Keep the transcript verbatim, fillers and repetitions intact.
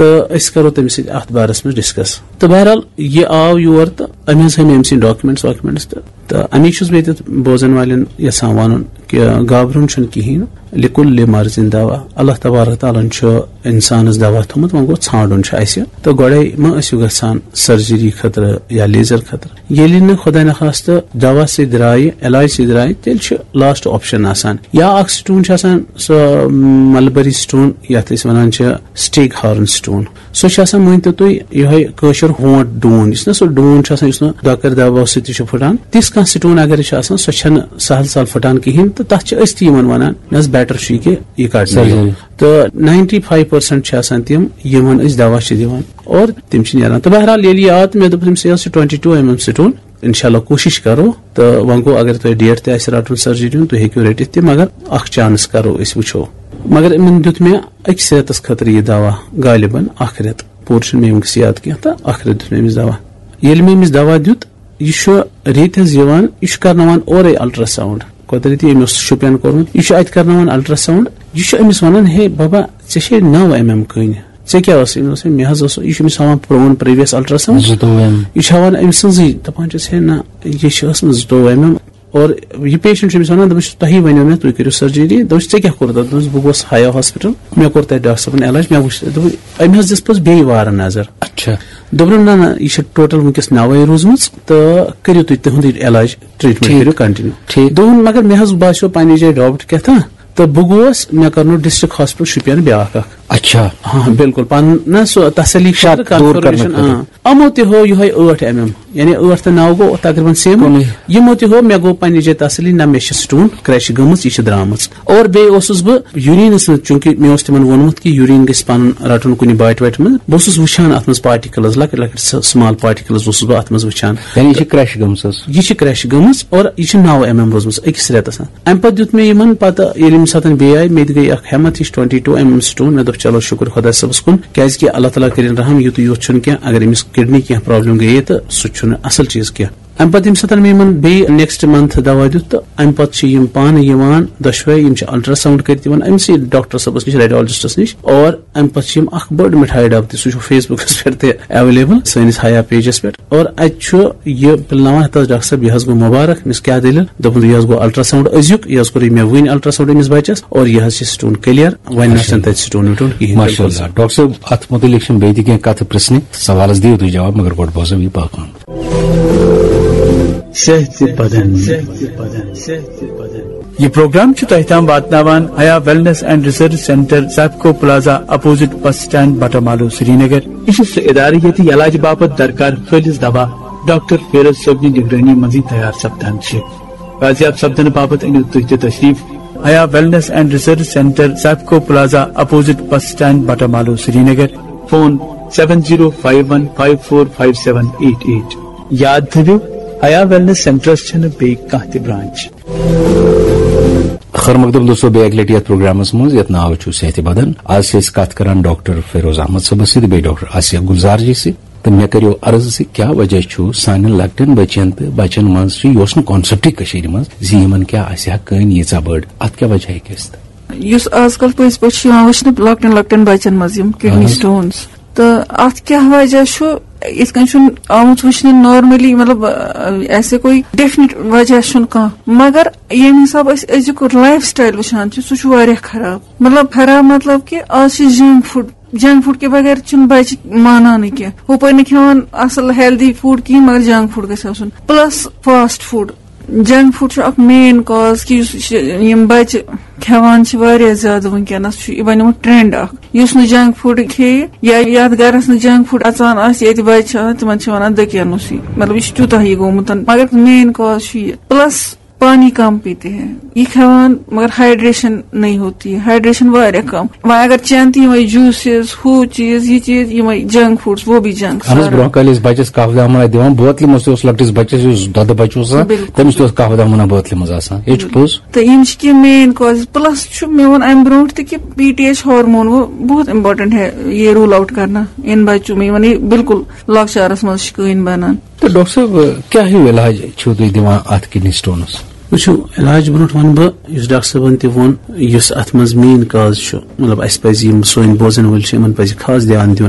تہٕ أسۍ کرو تٔمِس سۭتۍ اتھ بارس منٛز ڈسکس۔ تہٕ بہرحال، یہِ آو یور تہٕ أمۍ حظ ہٲوۍ مےٚ أمۍ سٕنٛدۍ ڈاکیومینٹس واکیومینٹس تہٕ، تہٕ اَمی چھُس بہٕ ییٚتٮ۪تھ بوزن والٮ۪ن یژھان وَنُن کہِ گابرُن چھُنہٕ کِہیٖنۍ، لِکُل لِمرض دوا۔ اللہ تبارک تعالیٰ ہن چھُ اِنسانَس دوا تھوٚمُت، وۄنۍ گوٚو ژھانٛڈُن چھُ اَسہِ۔ تہٕ گۄڈَے مہ ٲسِو گژھان سرجری خٲطرٕ یا لیزر خٲطرٕ۔ ییٚلہِ نہٕ خۄدا نخواستہٕ دوا سۭتۍ درٛایہِ، علاج سۭتۍ درٛایہِ، تیٚلہِ چھُ لاسٹ آپشن آسان۔ یا اکھ سٹون چھُ آسان، سُہ ملبری سٹون، یَتھ أسۍ وَنان چھِ سٹیک ہارن سٹون۔ سۄ چھِ آسان، مٲنۍ تو تُہۍ، یِہوٚے کٲشُر ہونٹ ڈوٗن، یُس نہ سُہ ڈوٗن چھُ آسان، یُس نہٕ ڈۄکر دباو سۭتۍ تہِ چھُ پھٕٹان۔ تِژھ کانٛہہ سٹون اگر چھِ آسان، سۄ چھَنہٕ سہل سہل پھٕٹان کِہیٖنۍ، تہٕ تَتھ چھِ أسۍ تہِ یِمن وَنان، مےٚ حظ بیٹر چھُ یہِ کہِ یہِ کَڑنہٕ یہِ۔ سرجری۔ تہٕ ناینٹی فایو پٔرسنٹ چھِ آسان تِم، یِمن أسۍ دوا چھِ دِوان اور تِم چھِ نیران۔ تہٕ بہرحال، ییٚلہِ یہِ آو تہٕ مےٚ دوٚپ تٔمِس، یہِ حظ چھُ twenty two M M stone. انشاءاللہ کوٗشِش کرو۔ تہٕ وۄنۍ گوٚو، اگر تۄہہِ ڈیٹ تہِ آسہِ رَٹُن سرجری ہُنٛد، تُہۍ ہیٚکِو رٔٹِتھ تہِ، مگر اکھ چانس کرو أسۍ، وٕچھو۔ مگر یِمن دیُت مےٚ أکِس رٮ۪تس خٲطرٕ یہِ دوا غالباً اکھ رٮ۪تھ، پوٗرٕ چھُنہٕ مےٚ وٕنکیٚس یاد کینٛہہ، تہٕ اکھ رٮ۪تھ دیُت مےٚ أمِس دوا۔ ییٚلہِ مےٚ أمِس دوا دیُت، یہِ چھُ ریٚتۍ حظ یِوان، یہِ چھُ کرناوان اورے الٹراساؤنڈ۔ قۄدرتی أمۍ اوس شُپین کوٚرمُت، یہِ چھُ اتہِ کرناوان الٹراساؤنڈ۔ یہِ چھُ أمِس ونان، ہے بابا، ژےٚ چھے نو ایم ایم کٔنۍ، ژےٚ کیٛاہ اوس؟ أمۍ اوس، مےٚ حظ اوس، یہِ چھُ أمِس ہاوان پرون پریویس الٹراساؤنڈ۔ زٕتووُہ ایم۔ یہِ چھُ ہاوان أمۍ سٕنٛزٕے، دپان چھُس، ہے نہ، یہِ چھِ ٲسمٕژ زٕتووُہ ایم ایم۔ اور یہِ پیشنٹ چھُ أمِس ونان، دپان چھُس، تۄہی ونیو مےٚ، تُہۍ کٔرِو سرجری۔ دپان چھُس، ژےٚ کیٛاہ کوٚرُتھ؟ دپان چھُس، بہٕ گوس ہایا ہاسپٹل، مےٚ کوٚر تتہِ ڈاکٹر صٲبن علاج، مےٚ وٕچھ، دوٚپُن، أمۍ حظ دِژ پوٚز بیٚیہِ وارٕ نظر۔ اچھا۔ دوٚپُن، نہ نہ، یہِ چھِ ٹوٹل وٕنکیٚس نوے روٗزمٕژ، تہٕ کٔرِو تُہۍ تِہُنٛدٕے علاج، ٹریٹمنٹ ٹھیٖک۔ کٔرِو کنٹینیو۔ ٹھیٖک۔ دوٚپُن، مگر مےٚ حظ باسیو پننہِ جایہِ ڈاوُٹ کیٛاہ تھا، تہٕ بہٕ گوس، مےٚ کرنو ڈسٹرکٹ ہاسپٹل شُپین بیٛاکھ اکھ۔ اچھا۔ ہاں، بِلکُل، پنُن نہ سُہ تسلی شک خٲطرٕ، دوٗر کرنہٕ کنفرمیشن، خٲطرٕ۔ آ۔ یِمو تہِ ہو یِہوٚے ٲٹھ ایم ایم، یعنی ٲٹھ تہٕ نو گوٚو تقریباً سیم۔ کُنُے۔ یِمو تہِ ہو، مےٚ گوٚو پننہِ جایہِ تسلی، نہ، مےٚ چھِ سٹون، کرٛیش گٔمٕژ، یہِ چھِ درٛامٕژ۔ اور بیٚیہِ اوسُس بہٕ یوٗریٖنَس منٛز، چوٗنٛکہِ مےٚ اوس تِمَن ووٚنمُت کہِ یوٗریٖن گژھِ پَنُن رَٹُن کُنہِ باٹہِ واٹہِ منٛز، بہٕ اوسُس وٕچھان اَتھ منٛز پارٹیکلز، لۄکٕٹۍ لۄکٕٹۍ سُہ سُمال پارٹیکلز اوسُس بہٕ اَتھ منٛز وٕچھان۔ یعنی یہِ چھِ کرٛیش گٔمٕژ حظ؟ یہِ چھِ کرٛیش گٔمٕژ اور یہِ چھِ نَو ایم ایم روٗزمٕژ أکِس رٮ۪تَس۔ اَمہِ پَتہٕ دیُت مےٚ یِمَن پَتہٕ، ییٚلہِ ییٚمہِ ساتَن بیٚیہِ آیہِ، مےٚ تہِ گٔے اَکھ ہٮ۪مَتھ ہِش، twenty two M M stone. مےٚ دوٚپ، چلو، شُکُر خۄدا صٲبَس کُن، کیٛازِکہِ اللہ تعالیٰ کٔرِن رحم، یُتُے یوت چھُنہٕ کینٛہہ، اگر أمِس کِڈنی کینٛہہ پرابلم گٔیے تہٕ سُہ تہِ چھُنہٕ اَصٕل چیٖز کینٛہہ۔ اَمہِ پَتہٕ ییٚمہِ ساتہٕ مےٚ یِمَن بیٚیہِ نیکسٹ منتھ دوا دیُت، تہٕ اَمہِ پَتہٕ چھِ یِم پانہٕ یِوان دۄشوے، یِم چھِ الٹراساؤنڈ کٔرِتھ یِوان أمسٕے ڈاکٹر صٲبَس نِش، ریڈیالجسٹَس نِش، اور اَمہِ پَتہٕ چھِ یِم اَکھ بٔڑ مِٹھایہِ ڈَبہٕ تہِ، سُہ چھُ فیس بُکَس پٮ۪ٹھ تہِ ایویلیبل سٲنِس حیا پیجَس پٮ۪ٹھ۔ اور اَتہِ چھُ یہِ پِلناوان، ہَتہٕ حظ ڈاکٹر صٲب، یہِ حظ گوٚو مُبارک، أمِس کیٛاہ دٔلیٖل؟ دوٚپُن، یہِ حظ گوٚو الٹراساؤنڈ أزیُک، یہِ حظ کوٚرُے مےٚ وٕنۍ الٹراساؤنڈ أمِس بَچَس، اور یہِ حظ چھِ سٹون کلیئر، وۄنۍ نہ چھُنہٕ تَتہِ سٹون وٹون کِہیٖنۍ۔ ماشاء اللہ۔ ڈاکٹر صٲب، اَتھ مُتعلِق چھِنہٕ بیٚیہِ تہِ کینٛہہ کَتھٕ پرٛژھنہِ، سوالَس دِیِو تُہۍ جواب، مگر گۄڈٕ بوزو یہِ پاکلام۔ صحت بدن۔ یہ پروگرام چھُ تۄہہِ تام واتناوان Haya wellness and research centre, Sifco plaza, opposite bus stand, Batamaloo, Srinagar. یہِ چھُ سُہ ادارٕ ییٚتہِ علاج باپتھ درکار خٲلص دوا ڈاکٹر فیروز صٲبنہِ نگرٲنی منٛزٕے تیار سپدان چھِ۔ بازیاب سپدنہٕ باپتھ أنِو تُہۍ تہِ تشریف Haya wellness and research centre, Sifco plaza, opposite bus stand, Batamaloo, Srinagar. Phone seven zero five one five four five seven eight eight۔ یاد تھٲوِو، حیا ویلنس سینٹرس چھنہٕ بیٚیہِ کانٛہہ تہِ برانچ۔ خیر مقدم دوستو، بیٚیہِ اَکہِ لَٹہِ یَتھ پروگرامَس منٛز یَتھ ناو چھُ صحتِ بدن۔ آز چھِ أسۍ کَتھ کران ڈاکٹر فیروز احمد صٲبَس سۭتۍ، بیٚیہِ ڈاکٹر آسیہ گُلزار جی سۭتۍ۔ تہٕ مےٚ کٔرِو عرض زِ کیٛاہ وجہ چھُ سانٮ۪ن لۄکٹٮ۪ن بَچَن تہٕ بَچَن منٛز چھُ، یہِ اوس نہٕ کانسیپٹٕے کٔشیٖرِ منٛز زِ یِمَن کیٛاہ آسہِ ہا کٔنۍ ییٖژاہ بٔڑ، اَتھ کیٛاہ وجہ ہیٚکہِ ٲسِتھ؟ یُس آز کل پٔزۍ پٲٹھۍ چھُ یِوان وٕچھنہٕ لۄکٹٮ۪ن لۄکٹٮ۪ن بَچَن منٛز یِم کِڈنی اہن حظ۔ سٹونز، تہٕ اَتھ کیٛاہ وجہ چھُ؟ یِتھ کٔنۍ چھُنہٕ آمُت وٕچھنہٕ نارملی، مطلب، ایسے کوئی ڈیفنٹ وجہ چھُنہٕ کانٛہہ، مگر ییٚمہِ حساب أسۍ أزیُک لایف سٹایل وٕچھان چھِ، سُہ چھُ واریاہ خراب۔ مطلب، خراب مطلب کہِ آز چھِ جنک فوڈ، جنک فوڈ کہِ بغیر چھِنہٕ بچہِ مانانٕے کینٛہہ۔ ہُپٲرۍ نہٕ کھٮ۪وان اصل ہیلدی فوڈ کِہیٖنۍ، مگر جنک فوڈ گژھِ آسُن، plus fast food. Junk food چھُ اکھ مین کاز کہِ یُس یہِ، یِم بچہِ کھٮ۪وان چھِ واریاہ زیادٕ وٕنکیٚنس، چھُ یہِ بنیومُت ٹرینڈ اکھ۔ یُس نہٕ جنک فوڈ کھیٚیہِ یا یتھ گرس نہٕ جنک فوڈ اژان آسہِ، ییٚتہِ بچہِ چھِ آسان، تِمن چھِ ونان دٔکیانوسٕے۔ مطلب، یہِ چھُ تیوٗتاہ یہِ گوٚمُت، مگر مین کاز چھُ یہِ۔ پلس پانی کم پیتے ہیں، یہ کھیوان مگر ہائیڈریشن نہیں ہوتی ہے، ہائیڈریشن واریاہ کم۔ وۄنۍ اگر چٮ۪ن تہِ یِمے جوٗسز، ہُہ چیٖز، یہِ چیٖز، یِمے جنک فوڈز، وہ بھی جنک اہن حظ، سارا۔ برونٛہہ کالہِ ٲسۍ بچس کف دامن دِوان بوتلہِ منٛز، تہِ اوس لۄکٹِس بچس یُس دۄدٕ بچہٕ اوس آسان، بِلکُل۔ تٔمِس تہِ اوس کف دامن بوتلہِ منٛز آسان۔ یہِ چھُ پوٚز۔ تہٕ یِم چھِ کینٛہہ مین کازز۔ پلس چھُ مےٚ ووٚن امہِ برونٛٹھ تہِ کہِ پی ٹی ایچ ہارمون وہ بہت امپورٹنٹ ہے، یہ رول آؤٹ کرنا ان بچوں میں، یِمن یہِ بِلکُل لۄکچارس منٛز چھِ کٔنۍ بنان۔ تہٕ ڈاکٹر صٲب، کیٛاہ ہیوٗ علاج چھِو تُہۍ دِوان اَتھ کِڈنی سٹونَس؟ وٕچھِو، علاج برونٛٹھ وَنہٕ بہٕ، یُس ڈاکٹر صٲبَن تہِ ووٚن، یُس اَتھ منٛز مین کاز چھُ، مطلب، اَسہِ پَزِ، یِم سٲنۍ بوزَن وٲلۍ چھِ، یِمَن پَزِ خاص دیان دیُن۔